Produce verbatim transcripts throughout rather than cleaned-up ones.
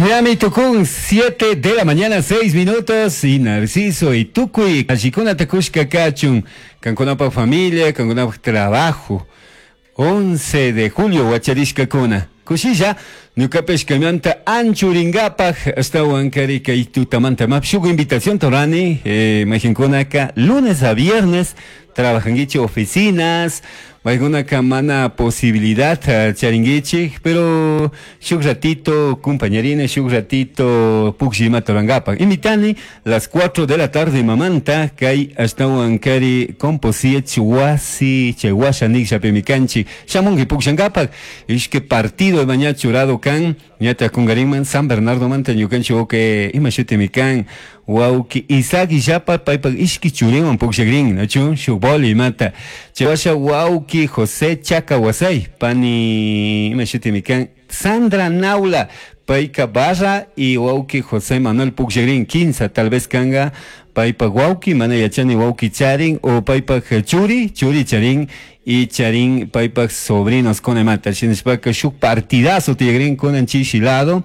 Miami Tucún, siete de la mañana, seis minutos, y Narciso y Tucuy, Allicuna Takushka Kachun, Cancunapa familia, Cancunapa trabajo. once de julio, Huacharishka Kuna. Kushilla, ñukapish kaymanta anchuringapak ashtawankari kay tutamanta map shuk invitación torani, eh, mayqinkunaka lunes a viernes trabajanguichik oficinas, maykunaka mana posibilidad uh, charinguichik, pero shuk ratito compañerina, shuk ratito pukllima torangapak. Invitani las cuatro de la tarde mamanta kay ashtawankari composiech wasi chay washa nikllapi mikanchik shamunki pukllangapak ishki partido mañana churado kan ñata kungarinman San Bernardo manta ñukanchik wawqi ima shutimi kan wawqi Isaac Illapa paypak ishki churinwan pukllakrin nachu shuk boli imata chay washa wawqi José Chaca Wasay pani ima shutimi kan Sandra Naula payka barra y wawqi José Manuel pukllakrin kinsa tal vez kanga paypak wawqi mana yachani wawqi charin o paypak churi churi charin y charin paypak sobrinos kunamanta shinashpaka shuk partidazo tiyakrin kunan chishi lado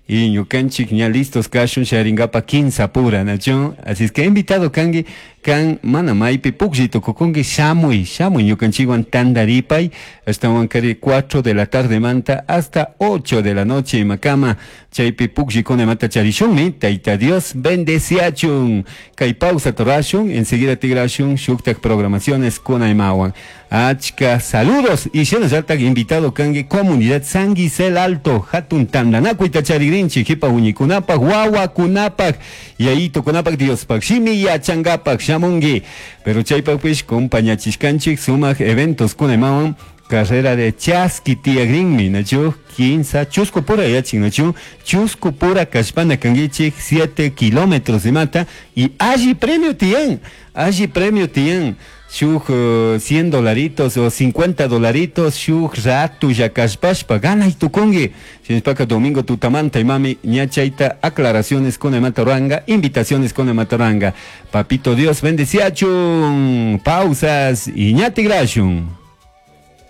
y ñukanchik ña listos kashun sharingapa kinsa pura nachu así es que invitado kanki kan mana maypi puklli tukukunki shamuy shamuy ñukanchikwan tandaripay ashtawankari cuatro de la tarde manta hasta ocho de la noche imakama chaypi pukllikunamanta charishunmi Tayta Dios bendeciachun kay pausa torashun enseguida tigrashun shuktak programaciones kunaymawan achka saludos y shinallatak invitado kanki comunidad San Gisel Alto hatun tandanakuyta charigrinchik jipa huñikunapak wawakunapak yayitukunapak Diospak shimi yachangapak shamunki pero chaypakpish compañachishkanchik sumak eventos kunaymawan carrera de chaski tiyagrinmi nachu kinsa chusku pura yachin nachu chusku pura kallpana kankichik siete kilómetros imata y alli premio tiyan alli premio tiyan shuk uh, cien dolaritos o cincuenta dolaritos shuk ratu kallpashpa ganay tukunki shinashpaka domingo tutamanta imami ña chayta aclaraciones kunamanta ruranga invitaciones kunamanta ruranga papito Dios bendeciachun pausas y ña tigrashun.